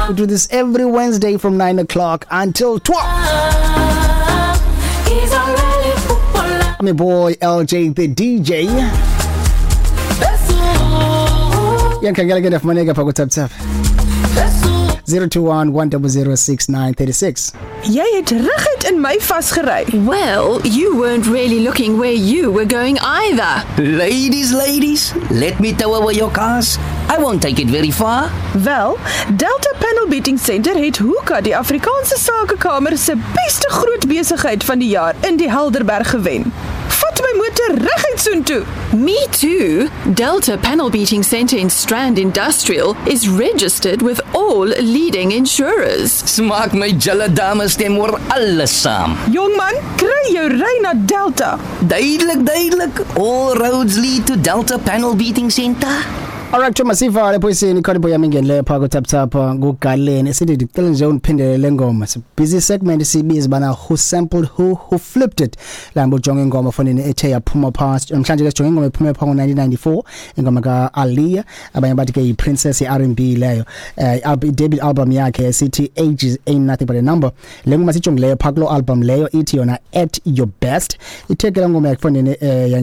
We do this every Wednesday from 9 o'clock until 12. I'm your boy LJ the DJ. Yankhangela ke ndafumaneka pha ku Tap Tap. 021 1006936. Jy het reguit in my vasgery. Well, you weren't really looking where you were going either. Ladies, ladies, let me tow away your cars. I won't take it very far. Wel, Delta Panel Beating Center het Hoeka, die Afrikaanse Sakekamer se beste groot besigheid van die jaar in die Helderberg gewen. Vat my motor reguit soontoe. Me too. Delta Panel Beating Center in Strand Industrial is registered with all leading insurers. Smaak my julle dames stem oor alles saam. Jongman, kry jou ry na Delta. Duidelik, duidelik. All roads lead to Delta Panel Beating Center. Alright, Thomas sivale poisini khona boy yami ingenileyo pha ku Tap Tap ngugaleni sithi ndicela nje undiphindele le ngoma. Busy segment sibiza bana who sampled who flipped it. Lambo jonge ingoma fonini ethe yaphuma past. Namhlanje ke sijonge ingoma ephume pha ngo-1994, ingoma ka Aaliyah, abanye bathi ke yi princess ye R&B leyo. Debut album yakhe sithi Ages Ain't Nothing But a Number. Le ngoma sijongileyo pha kulo album leyo ithi yona At Your Best. Ithe ke la ngoma yakufonini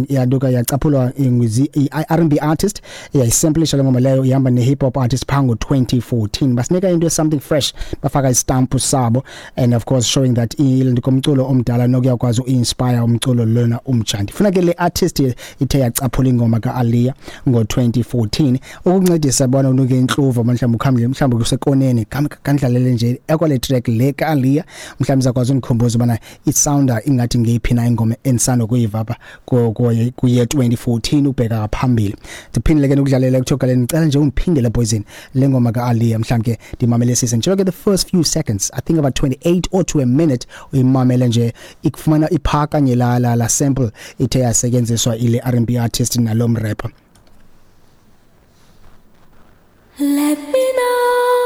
yanduka yacaphulwa i-R&B artist yayisample le ngoma leyo ihamba ne hip hop artist pha ngo-2014. Basinika into something fresh, bafaka istamp sabo, and of course showing that komculo omdala nokuyakwazi uinspire umculo lona umtsha. Ndifuna ke le artist ithe yacaphula ingoma ka-Aaliyah ngo-2014 ukuncedisa bona unuke intluvo mhlawumbe ukhambile mhlawumbe kusekoneni kandlalele nje ekwale track le ka-Aaliyah, mhlawumbe izakwazi undikhumbuza ubana isounder ingathi ngeyiphi na ingoma endisanda kuyiva apha kuye 2014 ubheka phambili. Ndiphindile ke nokudlalela kuthiwa ngicela nje ungiphindele poison le ngoma ka-Aaliyah mhlawumbe ke ndimamelesise nje ke the first few seconds, I think about 28 or to a minute, uyimamele nje ikufumana iphakanye la la la sample ithe yasetyenziswa ile R&B artist nalo mrapper. Let me know.